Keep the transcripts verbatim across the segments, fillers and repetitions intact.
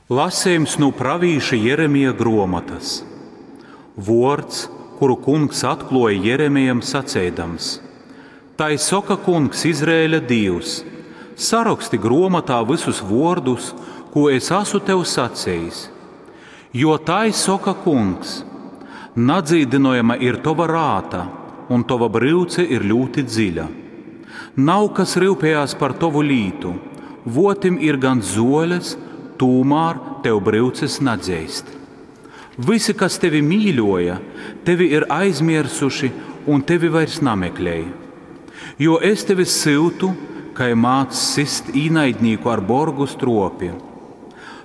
Lasejums nu pravīša Jeremija gruomotys. Vuords, kuru Kungs atkluoja Jeremijam saceidams: Tai soka Kungs, Izraēļa Dīvs: Saroksti gruomotā vysus vuordus, kū es asu tev sacejis. Jo tai soka Kungs: Nadzīdynojama ir tova rāta, un tova bryuce ir ļūti dziļa. Nav kas ryupējās par tovu lītu, votim ir gan zuoles, tūmār tev bryuces nadzeist. Visi, kas tevi mīļoja, tevi ir aizmirsuši un tevi vairs nameklej. Jo es tevi syutu, kai māc sist īnaidnīku ar borgu stropi.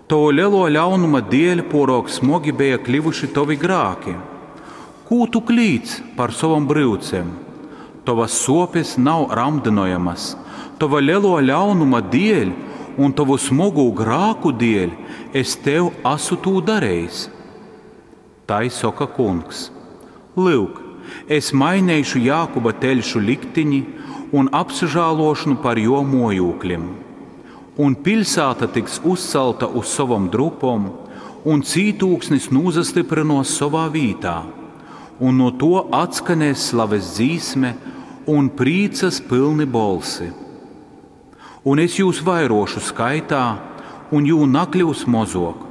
Tovu lielo ļaunuma dēļ porok smogi bija kļuvuši tovi grāki. Kū tu klīdz par sovom bryucem? Tovas sopes nav ramdinojamas, tova lielo ļaunuma dēļ un tovu smogū grāku dēļ es tev asu tū darījis. Tai soka Kungs: Lūk, es mainīšu Jākuba teļšu liktiņi un apsažālošanu par jo mojūkļiem. Un pilsēta tiks uzcelta uz savam drupom, un cītūksnis nūzastiprinos savā vītā, un no to atskanēs slaves dzīsme un prīcas pilni bolsi. Un es jūs vairošu skaitā, un jū nakļūs mozok,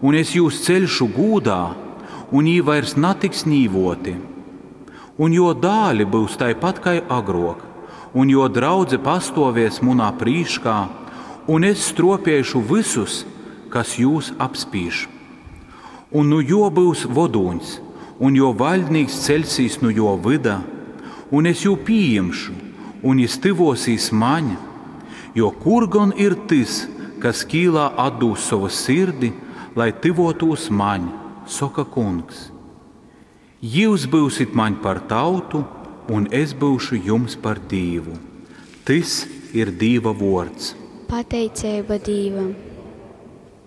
un es jūs ceļšu gūdā, un jī vairs natiks nīvoti. Un jo dāli būs taipat kai agrok, un jo draudze pastovies munā prīškā, un es stropēšu visus, kas jūs apspīš. Un nu jo būs vodūņs, un jo vaļdnīks ceļsīs nu jo vida, un es jū pieņemšu, un jis tivosīs maņ, jo kur gan ir tas, kas kīlā atdūs savu sirdi, lai tivotūs maņ, soka Kungs. Jūs būsit maņ par tautu, un es būšu jums par Dīvu. Tys ir Dīva vuords. Pateiceiba Dīvam!